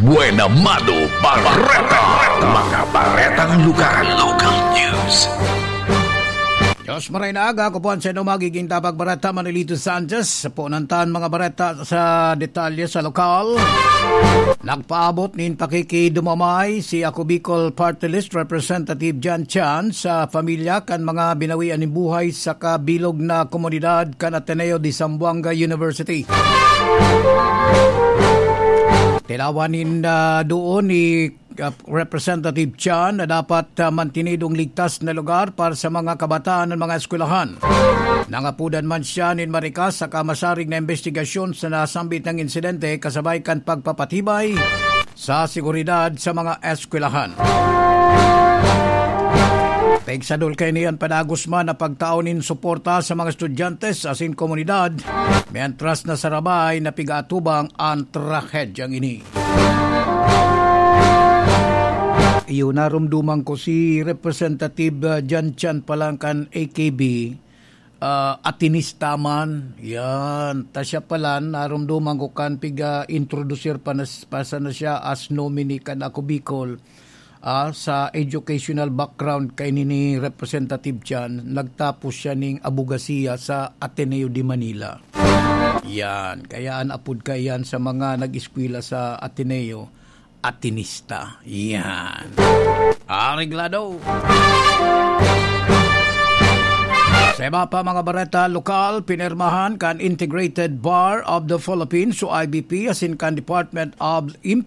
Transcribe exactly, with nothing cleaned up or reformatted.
Buena Mano Bareta. Mga baretang lugar. Local news. Diyos maray na aga, ako po ang sa inyo magiging tapag bareta, Manilito Sanchez. Sa punan tan mga bareta sa detalye sa lokal. Nagpaabot nin pakikidumamay si Ako Bicol Party List Representative John Chan sa pamilya kan mga binawian nin buhay sa kabilog na komunidad kan Ateneo de Zamboanga University. Tinawan nin, ah, doon ni, ah, Representative Chan na dapat, ah, mantinidong ligtas na lugar para sa mga kabataan ng mga eskwelahan. Nangapudan man siya nin marikas saka masarig na imbestigasyon sa nasambit na insidente kasabay kan pagpapatibay sa seguridad sa mga eskwelahan. Pigsadol kaini an padagos man na pagtao nin suporta sa mga estudyante asin komunidad, mientras na sarabay na pigaatubang an trahedyang ini. Iyo, narumduman ko si Representative, ah, John Chan pa lang kan A K B, ah, Atenista man. Yan. Ta siya pala, narumduman ko kan piga-introducer pa na, pa sana siya as nominee kan Ako Bicol, ah, sa educational background kaini ni Representative Chan. Nagtapos siya ning abogasiya sa Ateneo de Manila. Yan. Kaya an apod kaiyan sa mga nag-eskwela sa Ateneo, Atenista. Yan. Areglado. Sa iba pa mga bareta lokal, pinirmahan kan Integrated Bar of the Philippines o I B P asin kan Department of Im-